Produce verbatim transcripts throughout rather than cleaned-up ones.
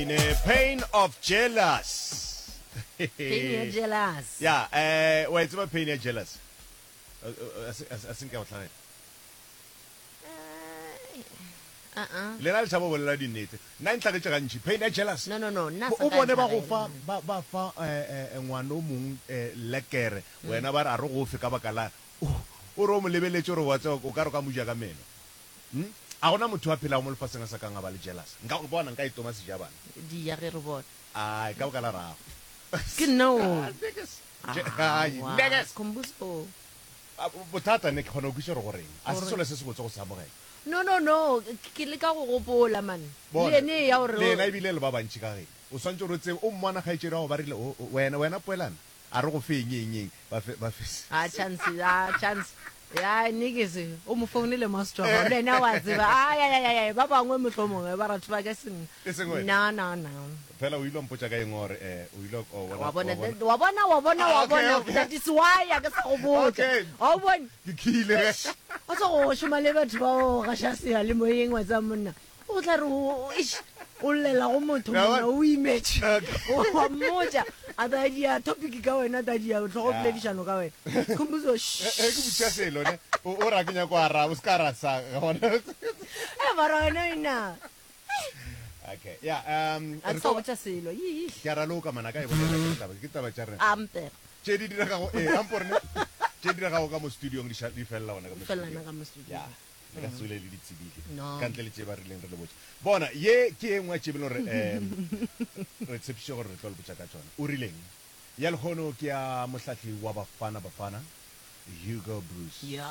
Ne pain of jealous. Pain ya jealous. Ya, eh wa e tseba pain ya jealous? A se a se nka go tlhagela. Uh uh. Lena le tšhaba go bolela dinnete. Nna e ntlhagetše gantši pain ya jealous. No no no, nna O sa ka bone ba go ntlhagela. fa ba ba fa eh eh ngwana o mong eh lekere wena ba re a re go fe ka baka la o re o mo lebeletše o re wa tseba o ka re o ka mo ja ka meno. Hm? A gona motho a phelago mo lefaseng a sa kang a ba le jealous. Nka bona nka itoma sejabana. Di ya ge re bona. Ai, ka baka la rago. Ke nna o. Niggas. Ai, Aowa, niggas. Khumbuzo. Bothata ne ke kgona go kwešiša gore goreng. A se Gore. selo se sebotse go se amogela. No no no, ke leka go gopola man. Le Bona, ene ya gore le yena ebile le ba bantši ka geno. O swantše gore o tsebe, o mmona kgaetšedi wa go ba rile, o, o, wena, wena Poelana, a re go fe eng, eng, eng, ba fe, ba fe. A chance, a chance. Ya niggas, o mo founele master wa gago, le yena wa tseba. Ai ai ai ai, ba bangwe mohlomongwe ba ratho ba ka seng. E seng wena. No no no. Fela o ile wa mpotša ka eng gore eh o ile wa bona Wa bona wa bona. wa bona wa bona wa Ah, okay, bona okay. that is why a ke sa go botša. Okay. Wa o bone? Ke khile ge. O tlo go šoma le batho ba go gaša seyalemoyeng wa tseba monna. O tla re o eish o llela go motho Ya monna bona? o imetše. Okay. Wa mmotša a ta dia topic ka wena ta dia tlhogo Ya. poledišano ka wena. Khumbuzo Ge ke botšiša selo ne o o ra ke nyako araba o se ka ra sa gona. Eh mara wena ina. Okay. Ya, um A re ke sa tlo go botša selo. Ii. ke a raloka mana ka e bolela ke taba ke taba tša rena. Amper. Tše di diregago eh ampore ne tše di diregago ka mo studiong di ša- di felela gona ka mo Di felela studiong. ka mo studiong. Ya. Le ka se tswele le di tsebile. No. Ka ntle le tše ba rileng re le botša. Bona, ye ke e nngwe ya tše e leng gore um re tshepišitše gore re tlo le botša ka tšona. O rileng? Ya lehono ke ya mohlahli wa Bafana Bafana, Hugo Broos. Ya.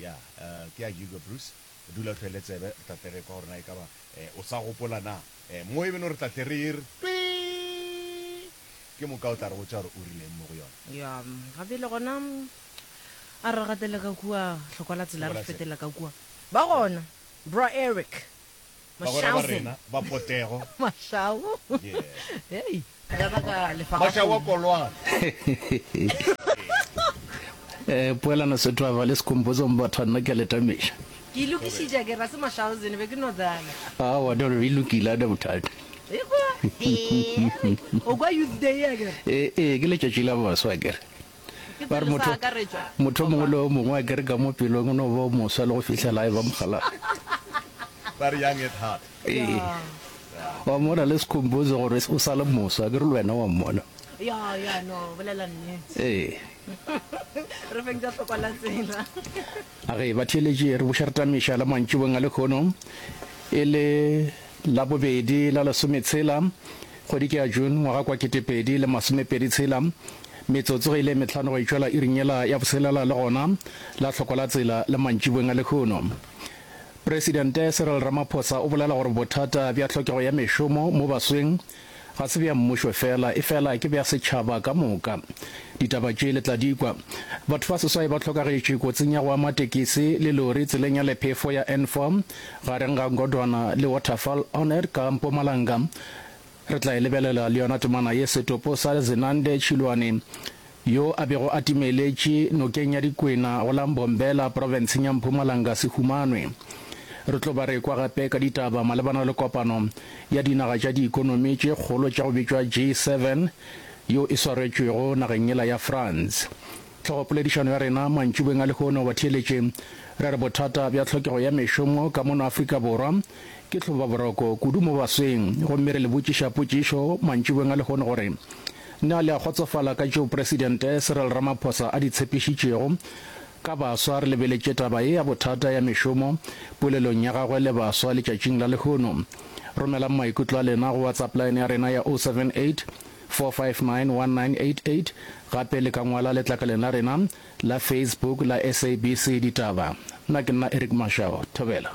Ya, eh, ke ya Hugo Broos. Dula o hlwele tsebe, re tla tle re kwa gore na e ka ba eh, o sa gopola na. Eh, mo e beno re tla tle re e re twii, ke moka o tla re botša gore o rileng mo go yona. Ya, ga bjale gona a re gatele ka kua hlokwa la tsela, re Hlokwa la tsela. fetela ka kua. Ba gona, Bra Eric. Bagwera ba Mashausen. rena ba potego. Mashau. Yeah. Hei, ya ba ka lefa ka Mashau wa kgomo. Kolwana. Eh, Poelano Setwaba le Sekhumbuzo Mbatha nna ke a le tamiša. Ke e lokišitše ke ra se Mashausen be ke no dlala. Aowa, no, e lokile, a ne bothata. Ekwa, Eric, o kwa Youth Day akere? Ee, ee, ke letšatši la baswa akere. Ke Ba re tsele sa motho, akaretšwa. motho o mongwe Goba le o mongwe akere ka mo pelong o no ba o moswa le go fihlela a eba mokgalabje. Ba re young at heart. Ee. Ya. Wa mmona le Sekhumbuzo gore o sa le moswa akere le wena wa mmona. Ya, ya, no, bolela nnete. Ee. Re feng tša hlokwa la tsela. A ge batheeletši re buša re tamiša la mantšiboeng a lehono e le Labobedi la lesometshela kgwedi ke ya June ngwaga kwa ketepedi le masomepedi tshela metsotso ge ile mehlano go itšwela iring yela ya botshelela le gona la hlokwa la tsela le mantšiboeng a lehono. Presidente Cyril Ramaphosa o bolela gore bothata bja tlhokego ya mešomo mo basweng ga se bja mmušo fela, efela ke bja setšhaba ka moka. Ditaba tše le tla di kwa. Batho ba seswai ba hlokagetše kotsing ya go ama tekisi le lori tseleng ya lephefo ya N four gareng ga Ngodwana le Waterval Oned ka Mpumalanga. Re tla e lebelela le yona temana ye. Setopo sa Zenande Tšhilwane yo a bego a timeletše nokeng ya Dikwena go la Mbombela profenseng ya Mpumalanga se humanwe. Re tlo ba re kwa gape ka ditaba malebana le kopano ya dinaga tša diikonomi tše kgolo tša go bitšwa G seven yeo e swaretšwego nageng yela ya France. Hlogopoledišano ya rena mantšiboeng a lehono batheeletše re re bothata bja tlhokego ya mešomo ka mono Afrika Borwa ke hlobaboroko kudu mo basweng gomme re le botšiša potšišo mantšiboeng a lehono gore na le a kgotsofala ka tšeo Presidente Cyril Ramaphosa a di tshepišitšego ka baswa re lebeletše taba ye ya bothata ya mešomo polelong ya gagwe le baswa letšatšing la lehono. Romelang maikutlo a lena go WhatsApp line ya rena ya oh seven eight, four five nine, one nine eight eight gape le ka ngwala letlakaleng la rena la Facebook la S A B C Ditaba. Nna ke nna Eric Mashau. Thobela.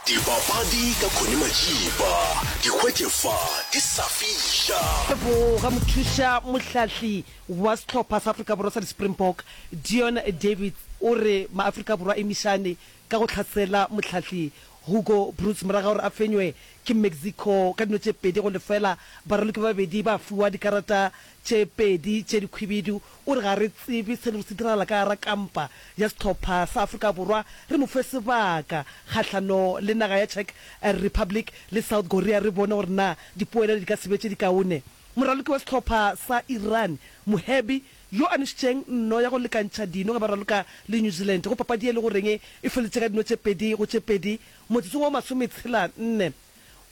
Dipapadi ka Connie Majiba, di hwetše fa di sa fiša. Leboga mothuša mohlahli wa sehlopha sa Afrika Borwa sa di-Springbok, Deon Davids o re maAfrika Borwa a emišane ka go hlasela mohlahli Hugo Broos morago ga gore a fenywe ke Mexico ka dino tše pedi go lefela. Baraloki ba babedi ba fiwa dikarata tše pedi tše dikhwibidu. O re ga re tsebe se lego se diragala ka gara kampa ya sehlopha sa Afrika Borwa. Re mo fe sebaka kgahlano le naga ya Czech Republic le South Korea re bone gore na dipoelo di ka se be tše dikaone. Moraloki wa sehlopha sa Iran, Mohebi, yo a nwešitšeng nno ya go lekantšha dino ge ba raloka le New Zealand go papadi ye e le goreng e feleditše ka dino tše pedi go tše pedi motsotsong wa masometshela nne,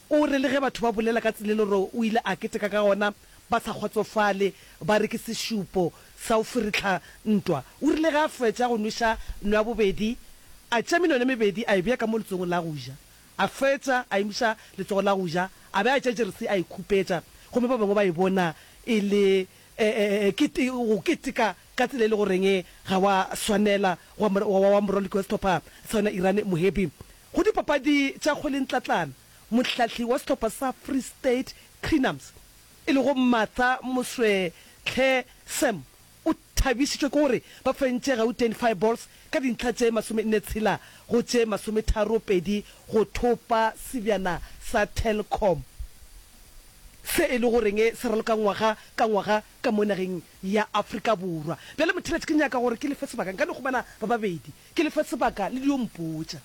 o re le ge batho ba bolela ka tsela e le gore o ile a keteka ka gona ba sa kgotsofale, ba re ke sešupo sa go ferehla ntwa. O rile ge a fetša go nweša nno ya bobedi, a tšea menwana e mebedi a e bea ka mo letsogong la go ja, a fetša a emiša letsogo la go ja, a be a tšea jeresi a e khupetša, gomme ba bangwe ba e bona e le go keteka ka tsela e le goreng ga wa swanela wa wa moraloki wa sehlopha sa yona Iran Mohebi. Go dipapadi tša kgwelentlatlana, mohlahli wa sehlopha sa Free State Crinums e lego Martha Moswetlhe Sam o thabišitšwe ke gore ba fentše Gauteng Fireballs ka dintlha tše masomenne tshela go tše masometharo pedi go thopa sebjana sa Telkom se e le goreng se raloka ngwaga ka ngwaga ka mo nageng ya Afrika Borwa. Bjale motheeletši ke nyaka gore ke le fe sebaka, nka no humana ba babedi, ke le fe sebaka le dio mpotša.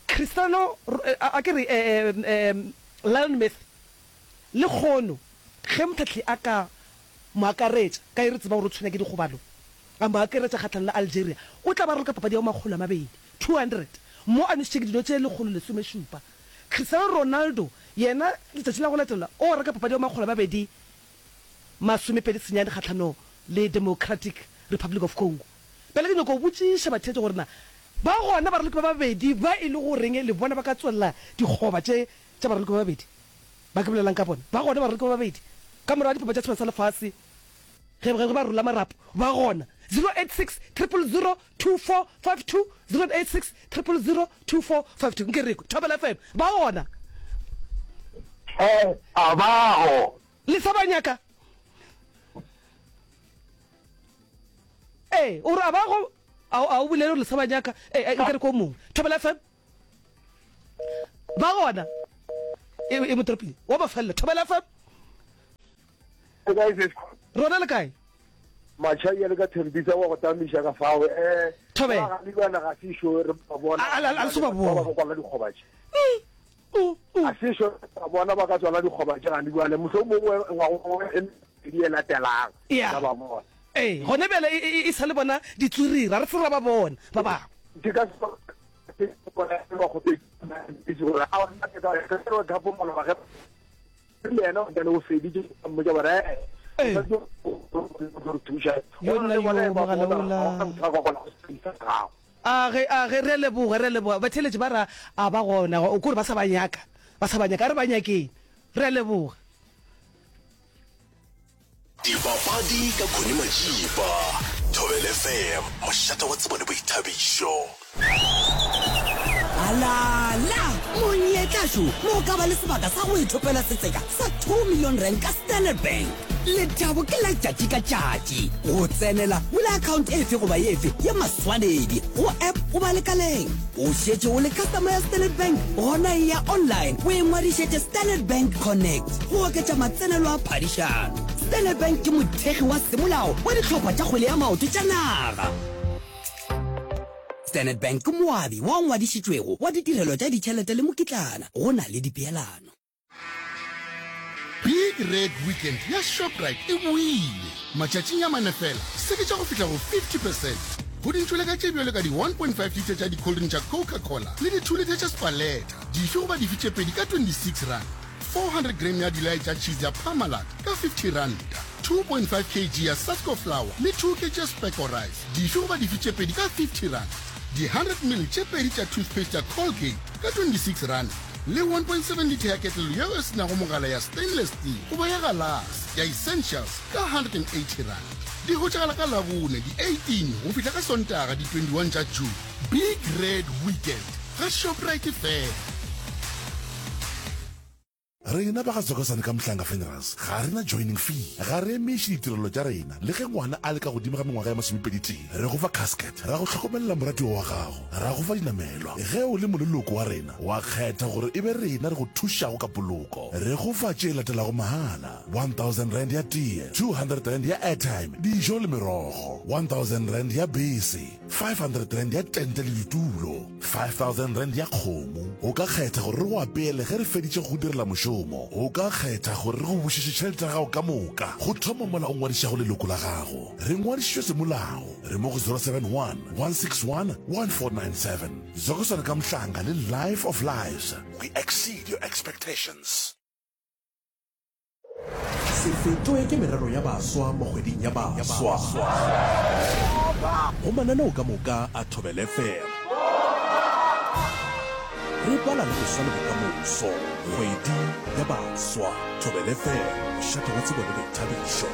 Cristiano, a ke re Lionel Messi, lekgono ge mohlahli a ka mo akaretša, ka ge re tseba gore o tshwenya ke dikgobalo, a mo akaretša kgahlanong le Algeria, o tla ba raloka papadi ya bo makgolo a mabedi, two hundred, mo a nwešitše ke dino tše lekgolo lesomešupa. Cristiano Ronaldo yena letšatši la go latela o reka papadi ya bo makgolo a mabedi masomepedi senyane kgahlanong le Democratic Republic of Congo. Bjale ke nyaka go botšiša batheetši gore na ba gona baraloki ba babedi ba e le goreng le bona ba ka tswelela dikgoba tše tša baraloki ba babedi ba ke bolelang ka bona. Ba gona baraloki ba babedi ka morago ga dipapadi tša Sebjana sa Lefase ge ge ba rola marapo ba gona. Zero eight six triple zero two four five two, zero eight six triple zero two four five two. Nke re kwe Thobela F M ba gona. Hee, a ba go. Le sa ba nyaka? Ee, o re a ba go, a, a o bolele gore le sa ba nyaka. Ee, nke re ko mongwe. Thobela F M ba gona. E, e motoropile wa mafelelo. Thobela F M. Le kae sis? Rona le kae? Machai le ka Thembisa wa go tamiša ka fao. Eh, Thobela. Ba ga le ga se šo re ba bona. A, a, a, a le so ba bona. Ba ba kwala dikgoba tše. Mm, mm. A se šo ba bona ba ka tswala dikgoba tše gane bjale mohlomongwe ngwago e mebedi e latelang. Yeah. Ka ba bona. Ee, gone bjale e, e, e sa le bona ditswiriri, a re se ra ba bona ba bangwe. Ke ka se bona ba kgopetše gore a nna ke ka ke re Cup maloba ge le yena o tla o feditše mmotša gore eh o re thuša. Yo nna yo mogala ola. A ge a ge re a leboga re a leboga batheeletši ba ra a ba gona o kore ba sa ba nyaka ba sa ba nyaka a re ba nyakeng re a leboga. Dipapadi ka Connie Majiba, Thobela F M, mošate wa tsebo le boithabišo. Alala! Monyetla šo mo o ka ba le sebaka sa go ithopela setseka sa two million rand ka Standard Bank. Lethabo ke la tšatši ka tšatši. Go tsenela, bula account efe goba efe ya maswanedi go app goba lekaleng. O šetše o le customer ya Standard Bank? Gona eya online o ingwadišetše Standard Bank Connect go oketša matsenelo a phadišano. Standard Bank ke mothekgi wa semolao wa dihlopha tša kgwele ya maoto tša naga. Standard Bank ke moabi wa ngwadišitšwego wa ditirelo tša ditšhelete le mokitlana go na le dipeelano. Big Red Weekend ya Shoprite e boile! Matšatšing a mane fela, seketša go fihla go fifty percent go dintšoleka tše bjalo ka di one point five litre tša di-cold drink tša Coca-Cola le di two litre tša Spaleta, dife goba dife tše pedi ka twenty-six rand, four hundred gram ya dilai tša cheese ya Parmalat ka fifty ranta, two point five kg ya Sasko flour le two kg ya Specco rice, dife goba dife tše pedi ka fifty rand, di hundred ml tše pedi tša toothpaste ya Colgate ka twenty-six rand le one point seven litre ya ketlelo yeo e se nago mogala ya stainless steel goba ya galase ya Essentials ka hundred and eighty rand. Di hwetšagala ka Labone di eighteen go fihla ka Sontaga di twenty-one tša June. Big Red Weekend ga Shoprite fela. Rena ba ga Zokosane ka Mhlanga Funerals ga re na joining fee. Ga re emiše ditirelo tša rena le ge ngwana a le ka godimo ga mengwaga ya masomepedi tee. Re go fa casket, ra go hlokomelela moratiwa wa gago, ra go fa dinamelwa. Ge o le moleloko wa rena, wa kgetha gore e be rena re go thušago ka poloko. Re go fa tše latelago mahala, one thousand rand ya tee, two hundred rand ya airtime, dijo le merogo, one thousand rand ya bese, five hundred rand ya tente le ditulo, five thousand rand ya kgomo. O ka kgetha gore re go apeele ge re feditše go go direla mošomo. O ka kgetha gore re go bušetše tšhelete ya gago ka moka go thoma mola o ngwadišago leloko la gago. Re ngwadišitšwe semolao. Re mo go zero seven one, one six one, one four nine seven. Zokosana ka Mhlanga le Life of Lives, we exceed your expectations. Se fetwe ke merero ya baswa mo kgweding ya baswa. Go mananeo ka moka a Thobela F M. Re bala le boswa le bokamoso. Kgwedi ya baswa. Thobela F M, mošate wa tsebo le boithabišo.